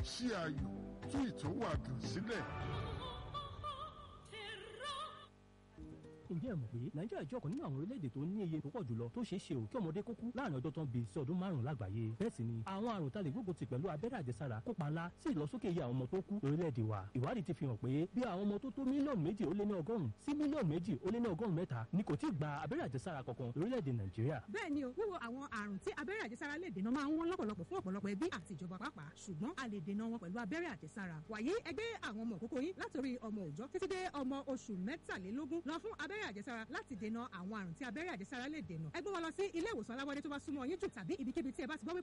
Sí ayò, tú ìtòwádùn sílẹ̀. Ǹjẹ́ ẹ mọ̀ pé Nàìjíríà jẹ́ ọ̀kan nínú àwọn orílẹ̀-èdè tó ní iye tó pọ̀ jùlọ tó ṣeé ṣe ò kí ọmọdé kó kú láàrin ọjọ́ tó ń bí sí ọdún 5 lágbàáyé? Bẹ́ẹ̀ sì ni àwọn àrùn tá lè gbógun ti pẹ̀lú abẹ́rẹ́ àjẹsára kópa ńlá sí ìlọsókè iye àwọn ọmọ tó kú lórílẹ̀-èdè wa. Ìwádìí ti fi hàn pé bí àwọn ọmọ tó tó mílíọ̀nù 2.1 sí mílíọ̀nù 2.3 ni kò tíì gba abẹ́rẹ́ àjẹsára kankan lórílẹ̀-èdè Nàìjíríà. Bẹ́ẹ̀ ni o, wíwo àwọn àrùn tí abẹ́rẹ́ àjẹsára lè dènà máa ń wọ́n lọ́pọ̀lọpọ̀ fún ọ̀pọ̀lọpọ̀ ẹbí àti ìjọba pàápàá, ṣùgbọ́n a lè dènà wọn pẹ̀lú abẹ́rẹ́ àjẹsára. Wàyí, ẹgbẹ́ àwọn ọmọ òkókó yín látòrí ọmọ òòjọ́ títí dé ọmọ oṣù 23 lọ fún abẹ́rẹ́ àjẹsára láti dènà àwọn àrùn tí abẹ́rẹ́ àjẹsára lè dènà. Ẹ gbé wọn lọ sí ilé ìwòsàn alábọ́dé tó bá súnmọ́ yín jù tàbí ibikíbi tí ẹ bá ti gbọ́ wípé